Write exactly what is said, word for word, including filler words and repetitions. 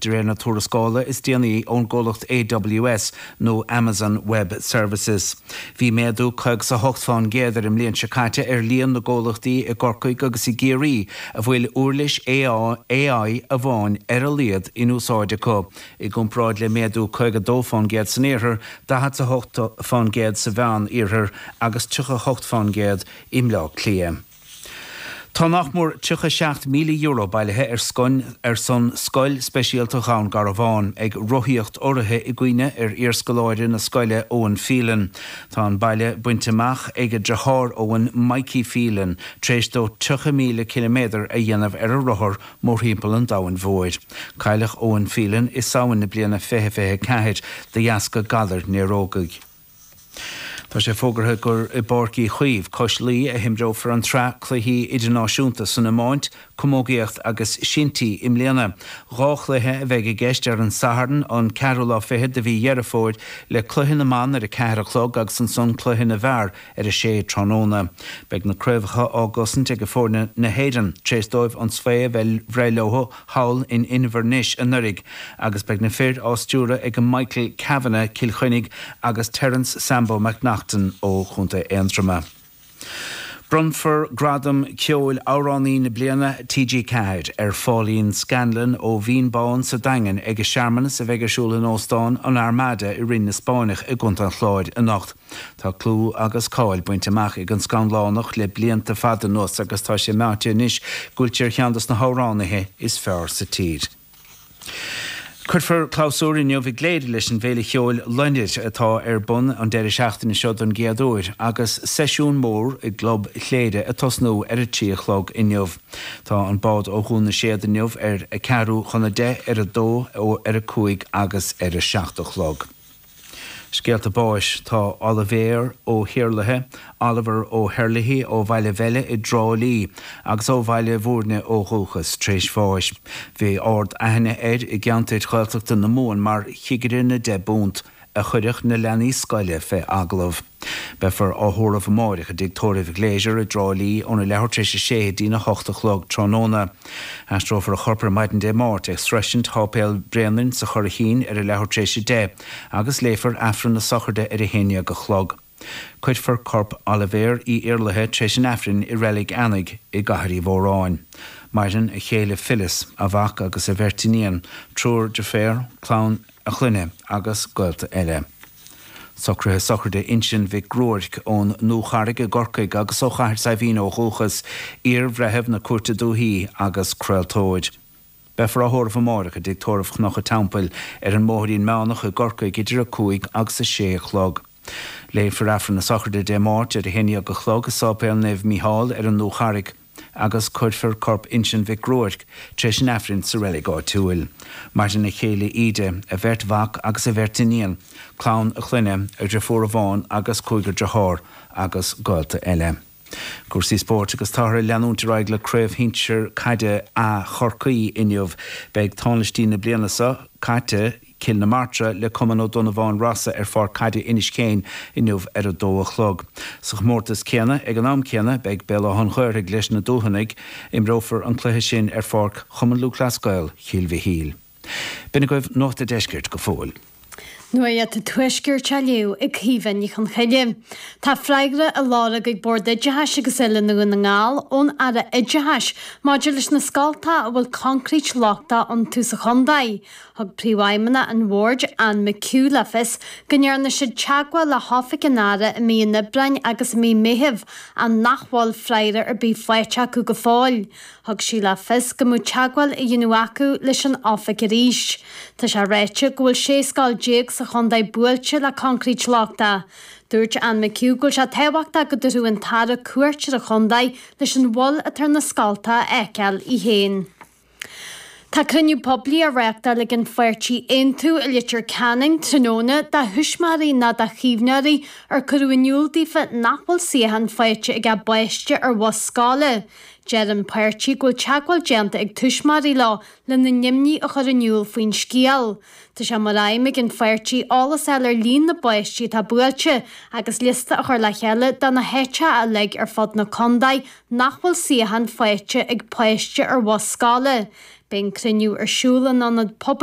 de réir na tuarascála is déanaí ón gcomhlacht AWS nó Amazon Web Services. Bhí méadú caoga is a hocht faoin gcéad ar an mbliain seo caite ar líon na gcomhlachtaí i gCorcaigh agus i gCiarraí a bhfuil uirlis AI amháin ar a laghad in úsáid acu. I gcomparáid le méadú caoga dó faoin gcéad san iarthar, daichead a hocht faoin gcéad sa mheán-iarthar agus tríocha hocht faoin gcéad i mBleá Cliath. Tá nach mór tríocha seacht míle euro bailithe ar scon ar son Scoil Speisialta Dhún Garbhán ag rothaíocht urraithe i gcuimhne ar iarscoláire na scoile Owen Phelan. Tá an baile bainte amach ag a dheartháir Owen Mikey Phelan, tar éis dó tríocha míle ciliméadar a dhéanamh ar a rothar mórthimpeall an domhain mhóir. Cailleadh Owen Phelan i Samhain na bliana fiche fiche ceathair de dheasca galar néarógaigh. Tá sé fógartha gur i bPáirc Uí Chaoimh Cois Laoi a himreofar an tsraith cluichí idirnáisiúnta san iomáint, camógaíocht agus sintí i mbliana. Dhá chluiche a bheidh i gceist ar an Satharn an ceathrú lá fichead de mhí Dheireadh Fómhair le cluiche na mban ar a ceathair a chlog agus ansan cluiche na bhfear ar a sé tráthnóna. Beidh na craobhacha á gcosaint ag foirne na hÉireann tar éis dóibh an svae a bheith bhreith leo thall in Inbhir Nis anuraidh agus beidh na fir á stiúradh ag Michael Kavanagh Cill Chainnigh agus Terence Sambo McNaughton ó Chontae Aontroma. Bronnfar gradam ceoil amhránaí na bliana TG Ceathair ar Pháilín Scanlon ó Mhín Bán sa Daingean ag searmanas a bheidh ar siúl in Óstán an Armada i Rinn na Spáinneach i gContae an Chláir anocht. Tá clú agus cáil bainte amach ag an Scanlánach le blianta fada anuas agus tá sé meáite anois go bhfuil sé ar cheann de na hamhránaithe is fearr sa tír. Cuirfear clabhsúr inniu i gCléire leis an bhféile cheoil Loinnir atá ar bun an deireadh seachtaine seo don gcéad uair agus seisiún mór i gClub Chléire ag tosnú ar a trí a chlog inniu. Tá an bád ó Dhún na Séad inniu ar a ceathrú chun a deich ar a dó ó ar a cúig agus ar a seacht a chlog. Scéalta báis tá Oilibhéar Ó hIarlaithe, Oliver Ó hEirlithe ó Bhaile Bheile i dTrá Lí agus ó Bhaile Bhúirne ó dhúchas tar éis bháis. Bhí ard-aithne air i gceantar Ghaeltachta na Mumhan mar chigire na deich bpunt a chuirfeadh na leanaí scoile fé agallamh. Beifear á thórramh amárach i dtigh tórraimh Glazier i dTrá Lí óna leathuair tar éis a sé go dtína hocht a chlog tráthnóna. Aistreofar a chorp ar maidin Dé Máirt ag sroisint Sháipéal Bhréanainn sa Churraichín ar a leathuair tar éis a deich agus léifear Aifreann na sochraide ar a haon déag a chlog. Cuirfear corp Oilibhéir Uí Iarlaithe tar éis an Aifrinn i Reilig Eanaigh i gCathair Uí Mhóráin. Maireann a chéile Phyllis, a mhac agus a bheirt iníon, triúr deirféar, clann a chlainne agus gaolta eile. Socruithe sochraide Uinseann Mhic Ruairc ón nDúcharraig i gCorcaigh agus ó Chathair Saidhbhín ó dhúchas, iar-bhreitheamh na Cúirte Dúichí agus craoltóir. Beifear á thórramh amárach i dtigh tórraimh Chnoc an Teampaill ar an mBóithrín Meánach i gCorcaigh idir a cúig agus a sé a chlog. Léifear Aifreann na sochraide Dé Máirt ar a haon déag a chlog i Sáipéal Naomh Mícheál ar an nDúcharraig agus cuirfear corp Uinseann Mhic Ruairc tar éis an Aifrinn sa reilig áitiúil. Maireann a chéile Íde, a bheirt mhac agus a bheirt iníon, clann a chlainne, a dheirfiúr amháin agus cúigear dearthár agus gaolta eile. Cúrsaí spóirt agus táthar ag leanúint ar aghaidh le craobh shinsir caide A Chorcaí inniu. Beidh tánaistí na bliana seo caite Cill na Martra le Cumann Ó Donnabháin Rosa ar pháirc caide Inis Céin inniu ar a dó a chlog. Sa chomórtas céanna ag an am céanna beidh Béal Átha an Ghaorthaidh leis na Dúthanaigh, imreofar an cluiche sin ar pháirc Chumann Lúthchleas Gael Chill Mhichíl. B'in agaibh Nuacht an Deiscirt go fóill. Nuacht an Tuaiscirt á léamh ag Caoimhe Ní Chonchoille. Tá freagra á lorg ag Bord Oideachais agus Oiliúna Dhún na nGall ón Aire Oideachais maidir leis na scoltacha a bhfuil concrete lochtach iontu sa chontae. Thug príomhfheidhmeannach an bhoird Anne McHugh le fios go ndearna siad teagmháil le hoifig an Aire i mí an Aibreáin agus i mí Meithimh ach nach bhfuil freagra ar bith faighte acu go fóill. Thug sí le fios go mbeadh teagmháil á dhéanamh acu leis an oifig arís. Tá sé ráite go bhfuil sé scoil déag sa chontae buailte le concrete lochtach. Dúirt Anne McHugh go bhfuil sé tábhachtach go dtabharfadh an tAire cuairt ar an chontae leis an bhail atá ar na scoltacha a fheiceáil í féin. Tá cruinniú poiblí á reáchtáil ag an pháirtí Aontú i Leitir Ceanainn tráthnóna do thuismitheoirí nó do chaomhnóirí ar cuireadh in iúl daofa nach bhfuil suíochán faighte ag a bpáiste ar bhus scoile. Deir an páirtí go bhfuil teagmháil déanta ag tuismitheoirí leo lena n-imní a chur in iúl faoin scéal. Tá sé mar aidhm ag an pháirtí eolas a fháil ar líon na bpáistí atá buailte agus liosta a chur le chéile de na háiteacha uilig ar fud na contae nach bhfuil suíochán faighte ag páiste ar bhus scoile. Beidh an cruinniú ar siúl in ionad pobail